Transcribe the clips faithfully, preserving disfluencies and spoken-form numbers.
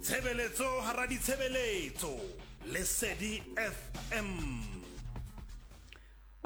Tshebeletso hara ditshebeletso. Lesedi F M.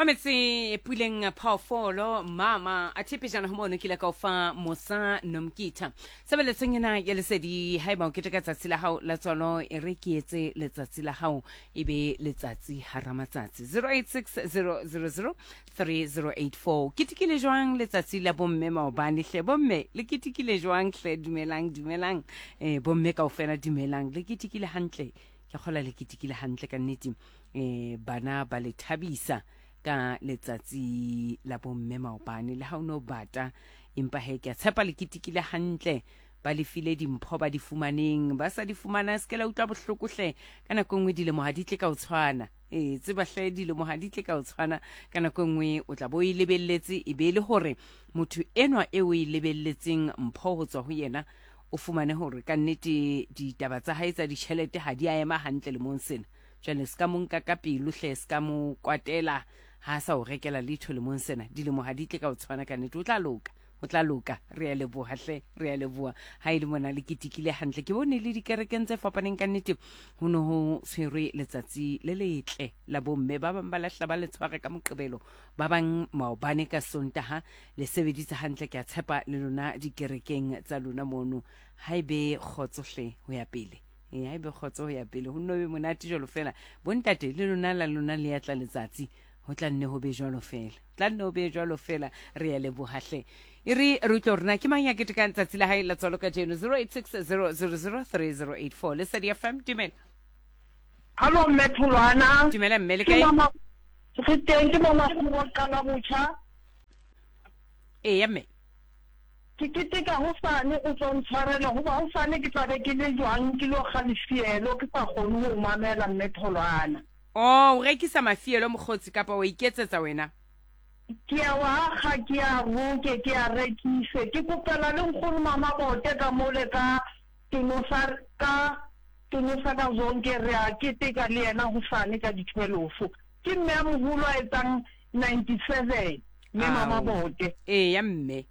Wa metse Puleng Phoofolo mama a thepejana ho mono ke ile ka o fa Mosa Nomkitha tshebeletsong ena ya Lesedi. Haeba o keteka tsatsi la hao la tswalo, e re ke etse letsatsi la hao e be letsatsi hara matsatsi. zero eight six zero zero zero three zero eight four. Ketekile jwang letsatsi la bomme maobane hle? Bomme, le ketekile jwang hle? Dumelang, dumelang, eh bomme kaofela, dumelang. Le ketekile hantle? Ke kgola le ketekile hantle ka nnete. eh bana ba le thabisa ka letsatsi la bomme maobane, le ha o no bata, empa he, ke a tshepa le ketekile hantle, ba le file dimpho ba di fumaneng, ba sa di fumana, se ke la utlwa bohloko hle. Ka nako e nngwe dilemo ha di tle ka o tshwana. Ee, tseba hle, dilemo ha di tle ka o tshwana. Ka nako e nngwe o tla bo o e lebelletse, e be e le hore motho enwa e o e lebelletseng mpho ho tswa ho yena, o fumane hore ka nnete ditaba tsa hae tsa ditjhelete ha di a ema hantle lemong sena. Jwale se ka mo nka ka pelo hle, se ka mo kwatela ha a sa o rekela letho lemong sena. Dilemo ha di tle ka o tshwana ka nnete. O tla loka, o tla loka. Re a leboha hle, re a leboha ha e le mona le ketekile hantle. Ke bone le dikerekeng tse fapaneng, ka nnete ho ne ho tshwerwe letsatsi le letle la bomme. Ba bang ba lahla ba le tshware ka Moqebelo, ba bang maobane ka Sontaha. Le sebeditse hantle, ke a tshepa le lona dikerekeng tsa lona mono. Ha ebe kgotso hle ho ya pele. Ee, ha ebe kgotso ho ya pele, ho nno be monate jwalo fela. Bontate, le lona la lona le ya tla letsatsi, ho tla nne ho be jwalo fela, tla nne ho be jwalo fela. Re ya leboha hle. E re re utlwe hore na ke mang ya ketekang tsatsi la hae la tswalo kajeno. zero eight six zero zero zero three zero eight four. Lesedi F M, dumela. Hallo mme Tholwana. Dumela mme, le Ke kae? Mama, re teng, ke mama wa qala botjha. Eya mme. Ke keteka hosane, o tswa ntshwarela hoba hosane ke tla be ke le jwang, ke lo kga lefielo, ke sa kgone ho mamela, mme Tholwana. O o rekisa mafielo, mokgotsi, kapa wa iketsetsa wena? Ke a wa akga, ke a roke, ke a rekise. Ke kopela le nkgono Mama Bote ka mole ka Tonosa, ka Tonosa ka Zonke, re a keteka le yena hosane ka di-twelve. Ke mme a moholo a etsang ninety-seven, mme Mama Ao. Bote. Eya mme.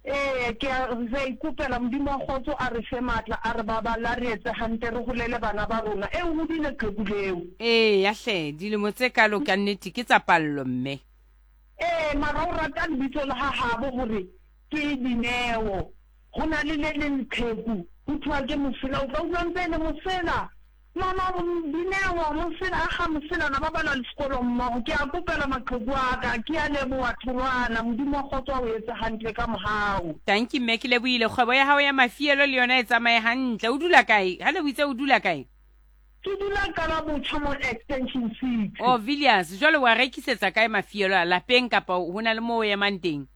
Ee, ke a re a ikopela Modimo wa kgotso a re fe matla, a re baballa, re etse hantle, re holele bana ba rona. E hodile qheku leo. Eya hle, dilemo tse kalo ka nnete ke tsa pallo, mme. Ee, mara o rata lebitso la ha habo hore ke Dineo. Ho na le le leng qheku ho thwa ke Mosela, o tla utlwa ntse e le Mosela, mama Dineo Mosela a ga Moselana, ba bala le sekolo mmogo. Ke a kopela maqheku a ka. Ke a leboha Tholwana, Modimo wa kgotso a o etse hantle ka mohau. Tanki mme, ke lebohile. Kgwebo ya hao ya mafielo le yona e tsamaye hantle. O dula kae ha le o itse o dula kae? Ke dula Qala Botjha mo Extension six. O Villiers. Jwale wa rekisetsa kae mafielo a lapeng, kapa ho na le moo o emang teng?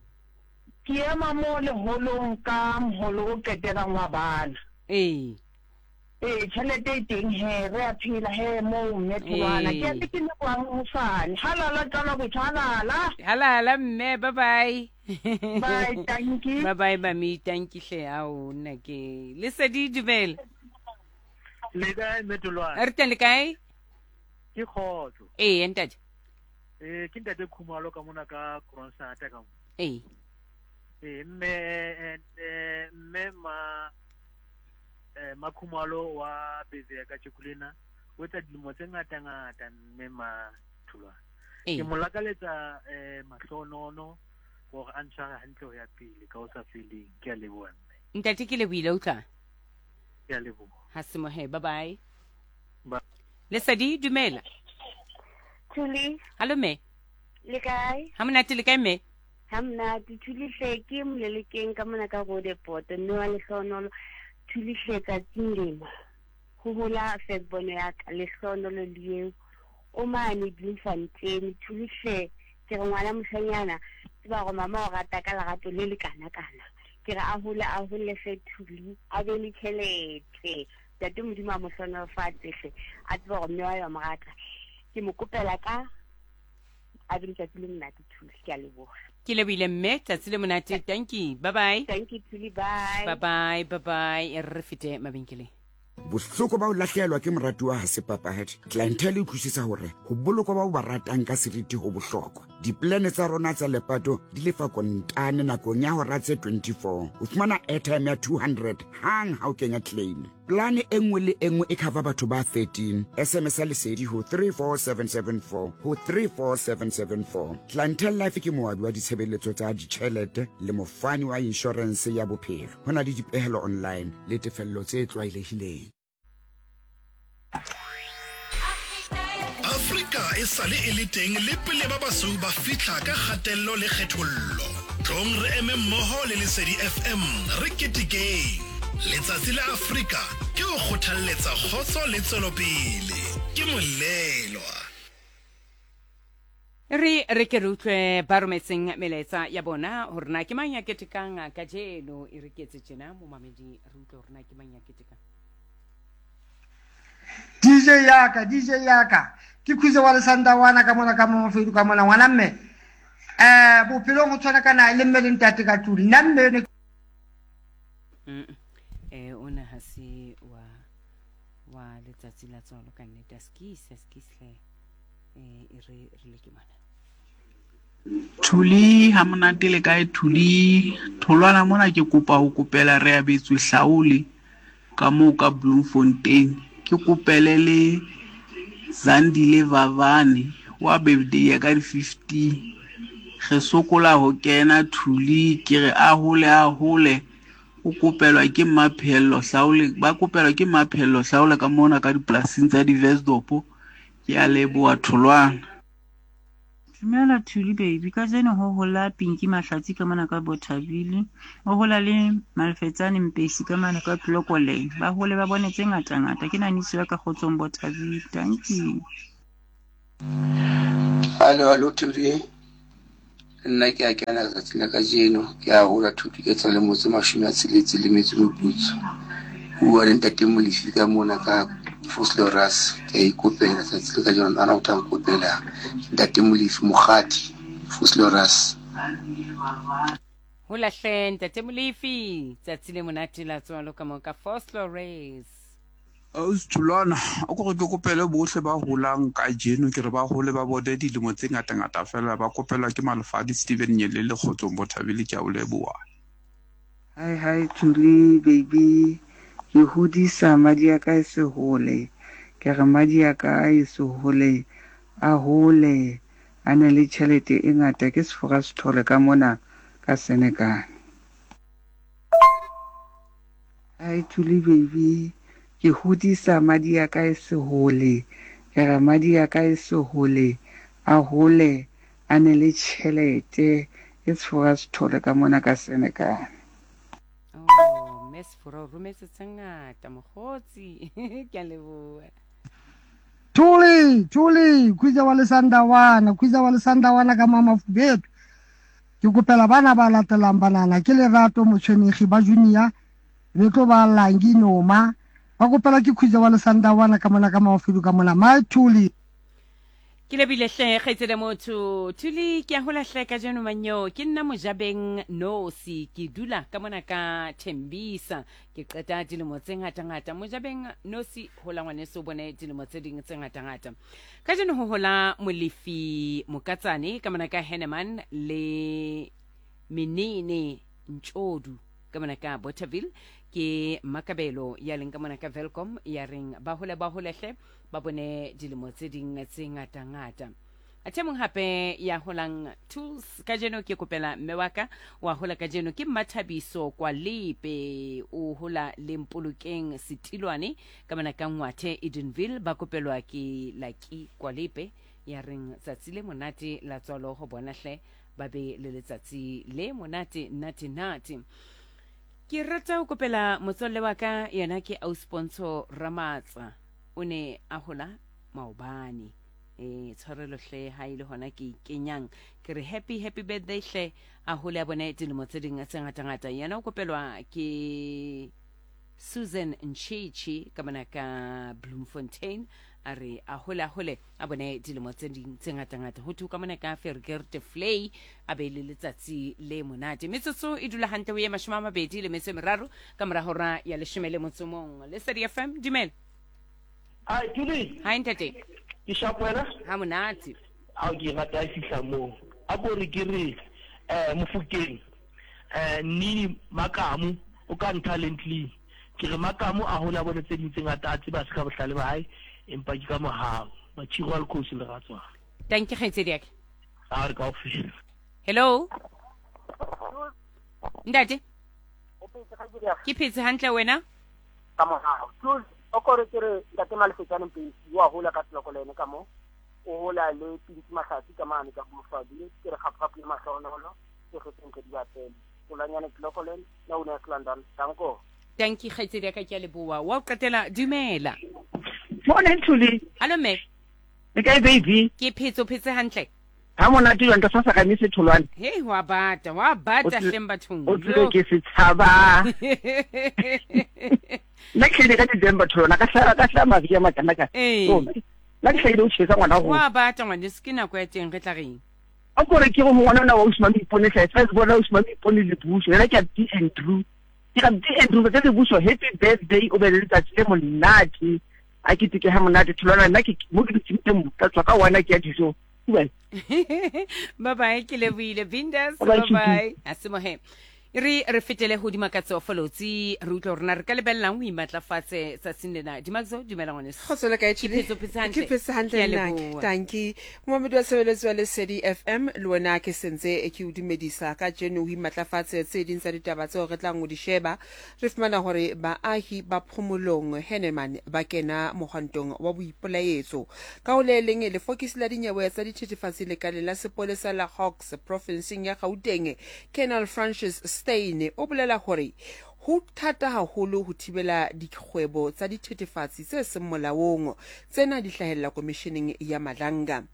Ke ema mo leholong ka moholo o qetelang wa bana. Ee. Ee, tjhelete e teng he, re a phela he moo, mme Tholwana. Ke a Ee. ke lebohang hosane. Halala Qala Botjha, halala. Halala mme, bye bye. Bye, tanki. Bye bye mami, tanki hle. Ao, nna ke Lesedi, dumela. Le kae, mme Tholwana? Re teng, le kae? Ke kgotso. Ee ntate. Eh, ke ntate Khumalo ka mona ka Kronsata ka mo. Ee. Eh, mme eh, eh, mme ma eh Makhumalo wa Beze ka tjekulena o etsa dilemo tse ngata ngata, mme ma Tholwana. Ee. Ke mo lakaletsa eh mahlonono hore a ntshware hantle ho ya pele ka ho sa feleng. Ke a leboha, mme. Ntate, ke lebohile, utlwa. Ke a leboha. Ha semohe, bye bye. Ba Lesedi, dumela. Thuli. Hallo mme. Le kae? Ha monate, le kae mme? Ha monate, Thuli hle, ke Molelekeng ka mona ka Roodepoort, mme wa Lehlohonolo. Thuli hle, tsatsing lena ho hola firstborn ya ka, Lehlohonolo le eo o mane Bloemfontein. Thuli hle, ke re ngwana moshanyana, tseba hore mama o rata ka lerato le le kana kana. Ke re a hole, a hole hle Thuli, a be le tjhelete. Ntate Modimo a mo hlohonolofatse hle, a tseba hore mme wa ya mo rata. Ke mo kopela ka a be letsatsi le monate Thuli, ke a leboha. Ke lebohile mme, tsatsi le monate. Thank you, bye bye. Thank you Thuli, bye. Bye bye, bye bye. E re fete mabenkeleng. Bohloko ba ho lahlehelwa ke moratuwa ha se papadi. Clientele e utlwisisa hore ho bolokwa ba o ba ratang ka seriti ho bohlokwa. Dipolane tsa rona tsa lepato di lefa kontane nakong ya hora tse twenty-four. O fumana airtime ya two hundred hang ha o kenya claim. Plane e nngwe le e nngwe e cover batho ba thirteen. S M S a Lesedi ho three four seven seven four ho three four seven seven four. Clientele Life ke moabi wa ditshebeletso tsa ditjhelete le mofani wa insurance ya bophelo. Ho na le dipehelo online le tefello tse tlwaelehileng. Afrika e sale e le teng le pele ba basweu ba fihla ka kgatello le kgethollo. Tlong re eme mmoho le Lesedi F M re ketekeng. Letsatsi la Afrika ke ho kgothalletsa kgotso le tswelopele. Ke molelwa. Re re ke re utlwe ba rometseng melaetsa ya bona hore na ke mang ya ketekang kajeno. E re ketse tjena momamedi, re utlwe hore na ke mang ya ketekang. D J yaka, D J yaka. Ke khuze wa lesandawana ka mona ka mofedu ka mona ngwana mme. Eh bophelong ho tshwana kana le mme le ntate ka tlung. Nna mme ne Mm. Eh ona ha se wa wa letsatsi la tswalo ka nnete, a skisa skisle eh e re re le ke mona. Thuli ha monate le kae Thuli? Tholwana mona ke kopa ho kopela re abetswe hlaole ka moo ka Bloemfontein. Ke kopele le Zandile Vavane wa birthday ya ka di fifteen. Re sokola ho kena Thuli, ke re a hole a hole. O kopelwa ke Maphello Hlaole, ba kopelwa ke Maphello Hlaole ka mona ka dipolasing tsa di-Westdorp. Ke a leboha Tholwana. Dumela Thuli baby, kajeno ho hola Pinky Mahlatsi ka mona ka Bothaville, o hola le Malfetsane Mpesi ka mane ka Tlokoleng. Ba hole ba bone tse ngata ngata. Ke naniso ya ka kgotsong Bothaville. Thank you. Hallo, hallo Thuli. Nna ke a kena letsatsi la kajeno, ke a hola Thuli ke tsa lemo tse mashome a tsheletse le metso e meputso. Bua le ntate Molefi ka mona ka Vosloorus. Ke a ikopela tsatsi la kajeno, ana o tla nkopela ntate Molefi Mokgadi Vosloorus. Hola hle ntate Molefi, tsatsi le monate la tswalo ka mo ka Vosloorus. Ausi Tholwana, o ko re ke kopele bohle ba holang kajeno, ke re ba hole ba bone dilemo tse ngata-ngata fela, ba kopelwa ke Malefadi Steven Nyelele kgotsong Bothabile, ke a o leboha. Hi hi Thuli baby, ke hodisa madi a ka e se hole. Ke re madi a ka e se hole, a hole, a na le tjhelete e ngata, ke sefora sethole ka mona ka Senekane. Hi Thuli baby, ke hodisa madi a ka e se hole. Ke re madi a ka e se hole, a hole, a ne le tjhelete, ke sefora sethole ka mona ka Senekane. Oh, mme Sefora o rometse tse ngata mokgotsi. Ke a leboha. Thuli, Thuli, khuze wa lesandawana, khuze wa lesandawana ka mama Fubetu. Ke kopela bana ba latelang banana ke Lerato Motshwenegi ba Junior, be tlo ba Langi Noma. Ba kopela ke khuze wa lesandawana ka mona ka Mafedu ka mona. My Thuli. Ke lebile hle kgaitsedi motho Thuli, ke a hola hle kajeno manyo. Ke nna Mojabeng Nosi, ke dula ka mona ka Thembisa. Ke qeta dilemo tse ngata-ngata. Mojabeng Nosi, hola ngwaneso, o bone dilemo tse ding tse ngata-ngata. Kajeno ho hola Molefi Mokatsane ka mona ka Henneman le Menene Ntshodu ka mona ka Bothaville. Ke Makabelo ya leng ka mona ka Welkom ya reng ba hole ba hole hle ba bone dilemo tse ding tse ngata-ngata. Athe mong hape ya holang Tools kajeno, ke kopela mme wa ka wa hola kajeno ke Mmathabiso kwa Lepe, o hola le Mpolokeng Setilwane ka mona ka Ngwathe Edenville, ba kopelwa ke Laki kwa Lepe ya reng tsatsi le monate la tswalo ho bona hle ba be le letsatsi le monate nate nate. Ke rata ho kopela motswalle wa ka, yena ke Ausponso Ramatsa, o ne a hola maobane. Eh tshwarelo hle ha ile hona ke kenyang, ke re happy happy birthday hle, a hole a bone dilemo tse ding tse ngata-ngata. Yena o kopelwa ke Susan Nchichi ka mona ka Bloemfontein, a re a hole a hole a bone dilemo tse ding tse ngata-ngata. Ho thwe ka mona ka Fergerte Flay, a be le letsatsi le monate. Metsotso e dula hantle ho ye mashome a mabedi le metso e meraro ka mora hora ya leshome le motso mong. Lesedi F M, dumela. Hi Thuli. Hi ntate. Ke sharp wena? Ha monate. Ha ke rata e fihla moo. A ko re ke re eh Mofokeng eh Nini Makamu o ka Talently. Ke re Makamo a hole a bone tse ding tse ngata a tseba se ka bohlale ba hae empa ke ka mohau. Matshiro a lekgosi le ratswana. Thank you kgaitsedi ya ka. A re kaofela. Hello. Ntate. Ke phetse hantle wena? Ka mohau. Tjus o kore ke re ntate Malefetsane Mpesi wa hola ka tloko le ene ka mo. O hola le Pinki Mahlatsi ka mane ka Bofadi ke re gape-gape le mahlonolo ke go sentle di batele. Polanyane tloko le na o ne London. Danko. Thank you kgaitsedi ya ka ke a leboha. Wa o qetela dumela. Morning Thuli. Hello mme. Le kae baby? Ke phetse o phetse hantle. Ha monate jwang ka sa ka mise tholwane. Hey wa bata, wa bata hleng bathong. O tsile ke se tshaba. Nna ke le ka December tholwana ka hlaba ka hlaba maria makana ka. Nna ke hlahile o tjhesa ngwana go. Wa bata ngwane se ke nako ya teng re tla reng. A kore ke go ngwana ona wa Usman Ipone hle, first bona Usman Ipone le Buso. Yena ke a D Andrew. Ke ga D Andrew ka le Buso happy birthday o be le letsatsi le monate. A ke tike ha monate tholwana nna ke mo ke dutseng teng ka tswa ka wana ke ya dijo. Bye bye ke lebohile Bindas bye bye asimohe re re fetele ho Dimakatso Folotsi re utlwa rona re ka lebellang ho imatlafatse tsatsing lena. Dimakatso dumela ngwaneso. Kgotso le kae Thuli? Ke phetse hantle. Ke phetse hantle nna. Tanki. Momamedi wa tshebeletso ya Lesedi F M le wena ke sentse ke o dumedisa ka jeno ho imatlafatse tse ding tsa ditaba tseo re tlang ho di sheba. Re fumana hore baahi ba Phomolong Henneman ba kena mohwantong wa boipelaetso. Ka ho le leng lefokisi la dinyewe tsa dithethefatsi lekaleng la sepolesa la Hawks provinseng ya Gauteng Colonel Francis Stein o bolela hore ho thata haholo ho thibela dikgwebo tsa dithethefatsi tse seng molaong tsena di hlahella komisheneng ya Madlanga.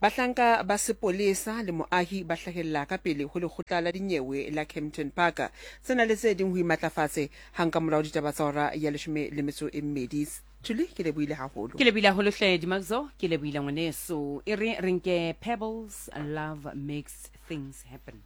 Bahlanka ba sepolesa le moahi ba hlahella ka pele ho lekgotla la dinyewe la Kempton Park. Tsena le tse ding ho imatlafatse hang ka morao ditaba tsa hora ya leshome le metso e mmedi. Thuli ke lebohile haholo. Ke lebohile haholo hle Dimakatso, ke lebohile ngwaneso. E re re nke Pebbles, Love Makes Things Happen.